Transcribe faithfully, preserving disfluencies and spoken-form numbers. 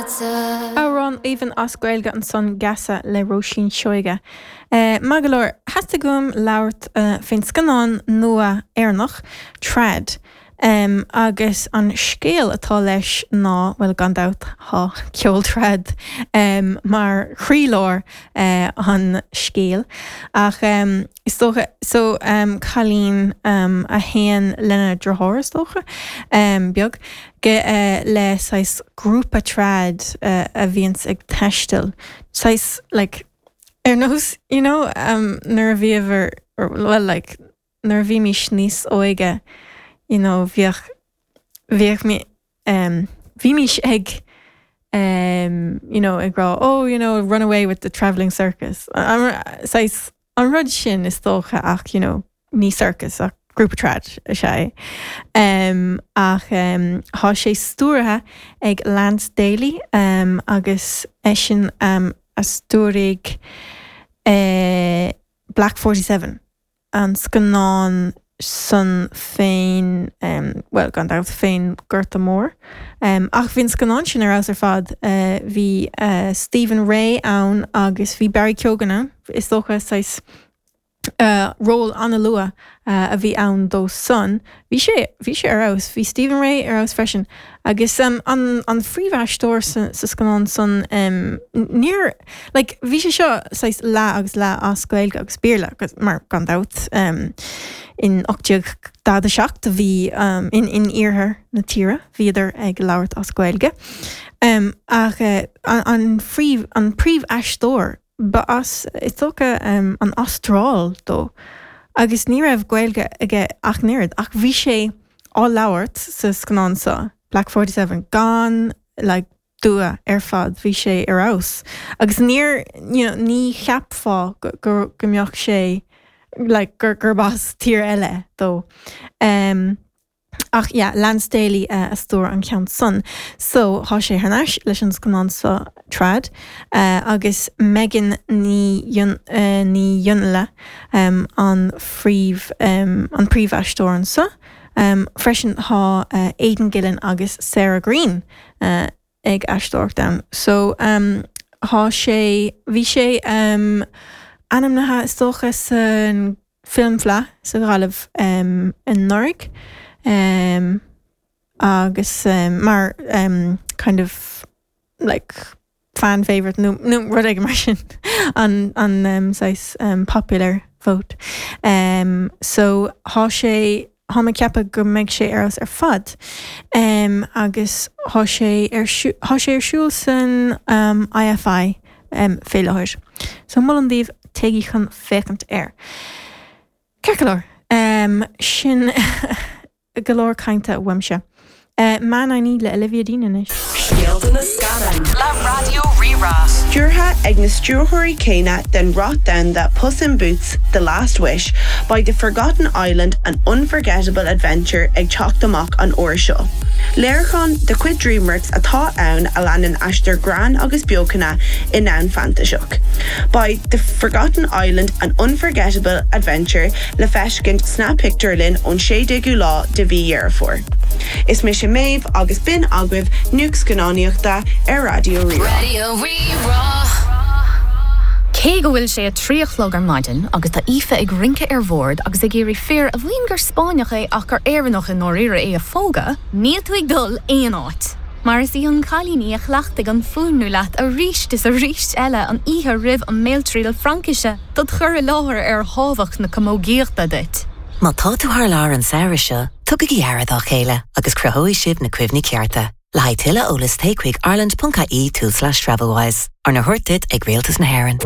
Leatsa. Amhrán aoibhinn as Gaeilge ansan Geasa le Róisín Seoige. Uh, Maith go leor theastaigh uaim labhairt uh, faoin scannán nua Éireannach Trad. Um, agus an scéal atá leis ná well gan dabht tá ceol trad um, mar chroílár uh, an scéil ach um, is dócha so um, cailín um, a théann lena deartháir is dócha um, beag ge uh, le saghas grúpa trad uh, a bhíonns ag taisteal saghas like ar nós you know um, nuair a bhíomar well like nuair a bhímis níos óige you know bhíodh bhíodh mé um, bhímis ag um, you know ag rá oh you know run away with the traveling circus um, saghas an rud sin is dócha ach you know ní circus ach grúpa trad is ea um, ach um, tá sé stiúrtha ag Lance Daly um, agus eisean um, a stiúraigh uh, Black Forty Seven an scannán san féin um, well gan dabht fén Gorta Mór. Um, ach bhí an scannán sin ar fheabhas ar fad uh, bhí uh, Stephen Rea ann agus bhí Barry Keoghan ann is dócha saghas uh, ról an-luath uh, a bhí ann dó san. Bhí sé bhí sé ar fheabhas, bhí Stephen Rea ar fheabhas freisin. Agus um, an, an phríomhaisteoir sa, sa scannán san um, níor like, bhí sé seo saghas leath agus leath as Gaeilge agus Béarla agus mar gan dabht um, in ocht déag daichead a seacht a bhí um, in in iarthar na tíre bhíodar ag labhairt as Gaeilge. Um, ach uh, an, an phríomh an príomhaisteoir ba as is dócha um, an Astráil dó. Agus ní raibh Gaeilge aige ach an oiread ach bhí sé á labhairt sa scannán seo Black Forty Seven gan like, dua ar fad bhí sé ar fheabhas. Agus níor you know, ní cheapfá go, go, go mbeadh sé like, gur gur as tír eile dó. Um, ach yeah, Lance Daly uh, a stiúir an ceann san. So tá sé thar n-ais leis an scannán seo trad uh, agus Megan Ní uh, Ní Fhionnghaile um, an phríomh um, an príomhaisteoir anseo. Um, freisin tá uh, Aidan Gillen agus Sarah Green uh, ag aisteoireacht ann. So um, tá sé bhí sé um, ainmnithe is dócha san Filmfleadh sa Ghaillimh um, anuraidh. Um, agus um, mar um, kind of like fan favorite nó nó rud éigin mar sin an an um, saghas um, popular vote. Um, so tá sé tá mé ag ceapadh go mbeidh sé ar ar fad. Um, agus tá sé ar tá sé ar siúl san um, IFI um, fé láthair. So molaim daoibh téigí chun féachaint air. Ceart go leor um, sin go leor cainte uaimse. Uh, Man I Need le Olivia Dean anois. Scéalta na scannán Le Raidió Rí-Rá. Stiúrtha ag na stiúrthóirí céanna den rath domhanda Puss in Boots, The Last Wish, beidh The Forgotten Island an unforgettable adventure ag teacht amach an uair seo. Léiriúchán de chuid DreamWorks atá ann a leanann aistear greann agus beochana i ndomhan fantaiseach. Beidh The Forgotten Island an unforgettable adventure le feiscint sna pictiúrlanna ón sé déagú lá de mhí Dheireadh Fómhair. Is mise Méabh agus b'in agaibh nuacht scannánaíochta ar Raidió Rí-Rá. Raidió Rí-Rá. Cé go bhfuil sé a trí a chlog ar maidin agus tá Aoife ag rince ar bhord agus ag iarraidh fear a mhaíonn gur Spáinneach é ach gur Éireannach i ndáiríre é a phógadh, níl tú ag dul aon áit. Mar is í an cailín í a chleachtaigh an fuaimniú leat arís is arís eile an oíche roimh an mbéaltriail Fraincise dod chur i láthair ar thábhacht na camógaíochta duit. Má tá tú thar lear an samhradh seo, tugaigí aire dá chéile agus cruthóidh sibh na cuimhní cearta. Le haghaidh tuilleadh eolais téigh chuig ireland.ie tulslais Travelwise, arna thabhairt duit ag Rialtas na hÉireann.